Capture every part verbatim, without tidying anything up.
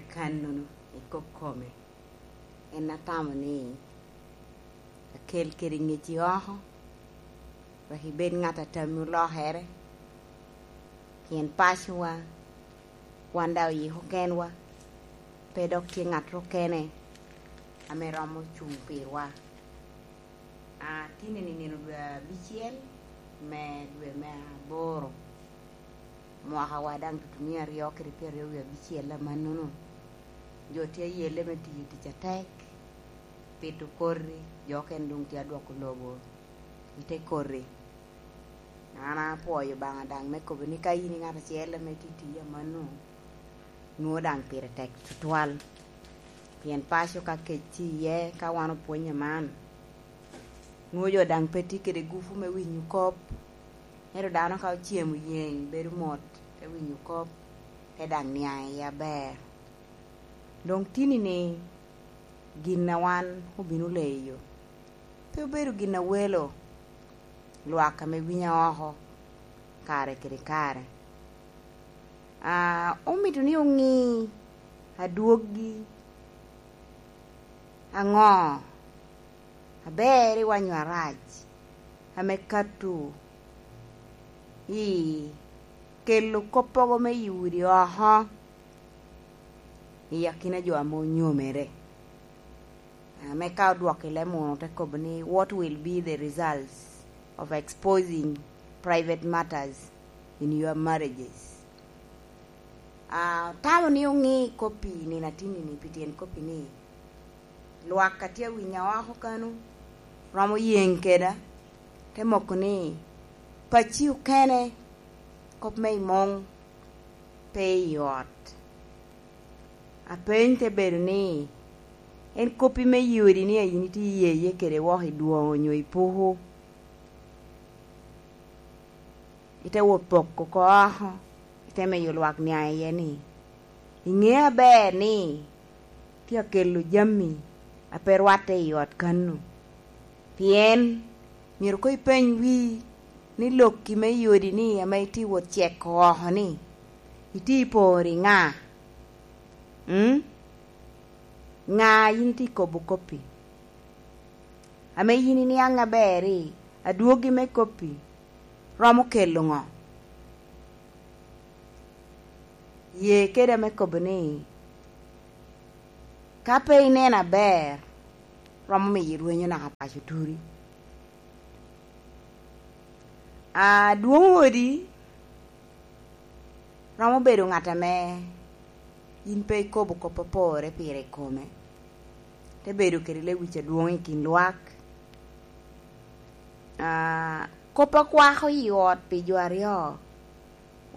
Kannono i kop kome, en atamo ni akel kede ngec i oko, wek ibed ŋat a tammi olokere, pien pacowa, wan daŋ oyiko kenwa, pe dok tye ŋat okene ame romo cuŋ pirwa. A, tini-ni nino dwe abicel me dwe me aboro, mwakawa daŋ tutumia aryo kede pyeraryo wie abicel amannono. Jo tye ayelle me tiyo tic atek, pito koti, jo okene doŋ tye adwoko lobo i te koti. An apwoyo Obaŋa daŋ me kobo ni ka in i ŋat acel ame tye tiyo amanno, nwoŋo daŋ pire tek tutwal. Pien paco ka kec tye iye, ka wan opwonyo man, nwoŋo jo daŋ pe tye kede gupu me winyo kop. Ento dano ka ocemo yeŋ bedo mot, te winyo kop, te daŋ niaŋ iye aber. Doŋ tini-ni gin a wan obino leyo pe obedo gin a welo lwak ame winya oko kare kede kare. A, omito ni oŋi adwoggi aŋo aber i wanyo arac ame kato i kelo koppogo me i udi oko i akina jo ame onyomere. Ame ka odwoko i leb munu te kobo ni, "What will be the results of exposing private matters in your marriages?" A, tamo ni oŋi kop-pi nino atinni-ni, pi tyen kop-pi ni, lwak a tye awinya oko kanu romo yeŋ keda, te moko ni, "Pacci okene, kop me i muŋ pe i ot." Apeny te bedo ni, en kop-pi me yodi ni a yin itye iye iye kede wok i dwoŋo onyo i puku, ite wot poko oko oko, ite miyo lwak niaŋ iye ni, "Iŋeo aber ni tye akelo jami a pe rwatte i ot kanu." Pien myero koŋ ipeny wii ni lokki me yodi-ni ame itye wot ceko oko-ni, itye i poro i ŋa? Mm? Ŋa yin itye kobo kop-pi? Ame yin iniaŋ aber-ri, adwogi me kop-pi romo kelo ŋo? Ye keda me kobo ni, ka pe ineno aber, romo miyo irwenyo naka paco turi. Adwoŋ odi romo bedo ŋat ame yin pe ikobo kop a porre pire i kome, te bedo kede lewic adwoŋ i kin lwak. A, kop a kwako i ot pi jo aryo,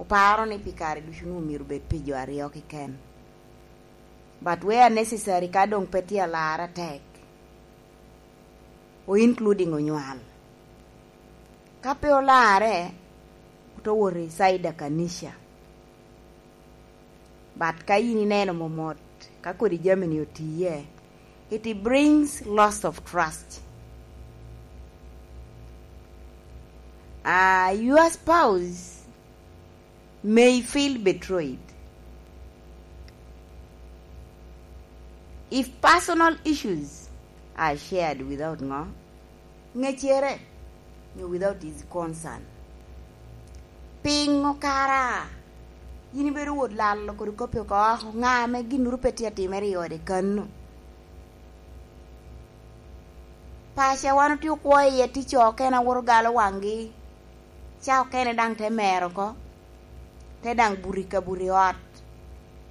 oparo ni pi kare ducu nwoŋo myero obed pi jo aryo keken. But where necessary, ka doŋ pe tye alar atek, o including onywal. Ka pe olarre, oto wot i side a kanica. But ka yin ineno momot, ka kodi jami-ni otiye, it brings loss of trust. Uh, your spouse may feel betrayed if personal issues are shared without ŋo? Ŋecere, nyo without his consent. Piŋo kara yin ibedo wot lalo kodi kop-pi oko oko, ŋa ame ginnoro pe tye atimere i ode kano? Paco a wan otye okwo iye tye co okene a woto galo waŋgi, ca okene daŋ te mero oko, te daŋ buto i kabuto i ot,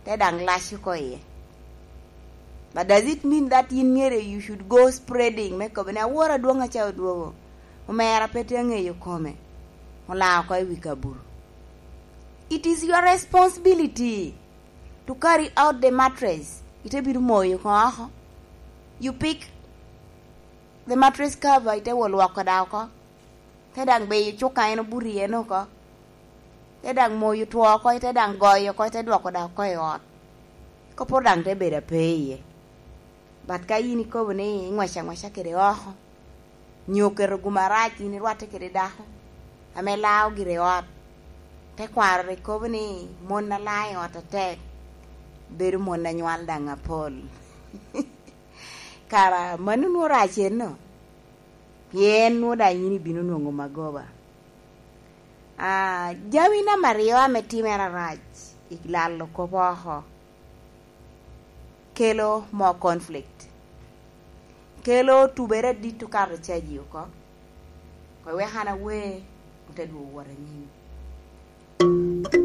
te daŋ lac oko iye. But does it mean that yin myero you should go spreading me kobo ni, "Awor adwoŋ aca odwogo, omera pe tye aŋeyo kome, olaa oko i wi kabuto"? It is your responsibility to carry out the mattress. Ite bino moyo oko oko. You pick the mattress cover, ite wo lwoko da oko. Te daŋ beyo cuka en obuto iye oko. Te daŋ moyo two oko, ite daŋ goyo oko, ite dwoko da oko i ot. Koporo daŋ te bedo ape iye. But ka yin ikobo ni iŋweco aŋweca kede oko, nyo keto gum arac yin irwatte kede dako ame lao gire i ot, tekwaro rik kobo ni mon a lao i ot atek, bedo mon anywal daŋ apol. Kara mano nwoŋo rac enno, pien nwoŋo daŋ yin ibino nwoŋo magoba. Ah, jami namba aryo ame timere arac i lalo kop oko, kelo more conflict, kelo tubere adit okato caji oko, kwe wek an awe, ote dwogo wot anyim.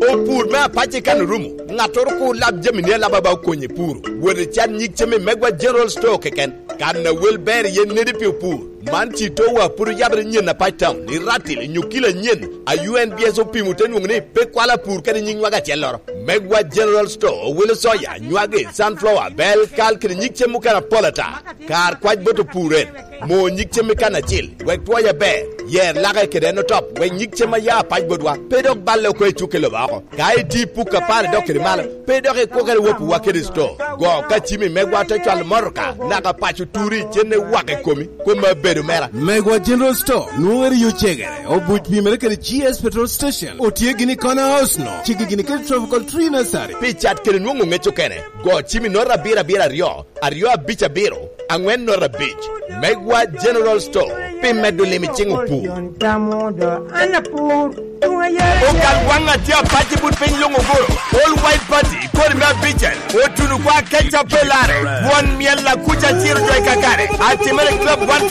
Opur me apac i kan orumo, ŋattoro kur lab jami ni alaba ba okonye puro. Wot i can nyig cem i Megwa General Store keken. Kan a wel ber iye nedi pi opur. Man ci towa pwod oyabere nyen apac town, i Ratil, i Nyukila nyen, a U N B S opimo te nwoŋo ni pe kwalo apur kede nyig nywag acelloro. Megwa General Store owelo soya, nywagi, sunflower, bel, kal kede nyig cem mukene apol ata. Kar kwac bot opur en, mo nyig cem i kan acil, wek twoye ber, yer lake kede en otop, wek nyig cem a ya apac botwa pe dok balle oko i cukke lobo oko. Ka iti puk apar idok kede malo, pe dok ikwo kede wopiwa kede sto. Go ka cimi megwa te cwalo motoka naka paco turi cenne wak i komi, koma bedo mera. Megwa General Store nwoŋere yo cegere, obuc pimere kede G S Petrol Station, otye gini i Corner House no, cigi gini kede Tropical Tree Nursery. Pi cat kede nwoŋo ŋec okene, go cimi nota abiro abiro aryo, aryo abic abiro, aŋwen nota abic. Megwa General Store, pi medo lim i ciŋ opur. Okal waŋ a tye apac i but piny luŋ oguro, All White Party, kodi me abicel, otuno kwa keca pe lare, won myel akuca ciro jo i kakare, atimere club one forty.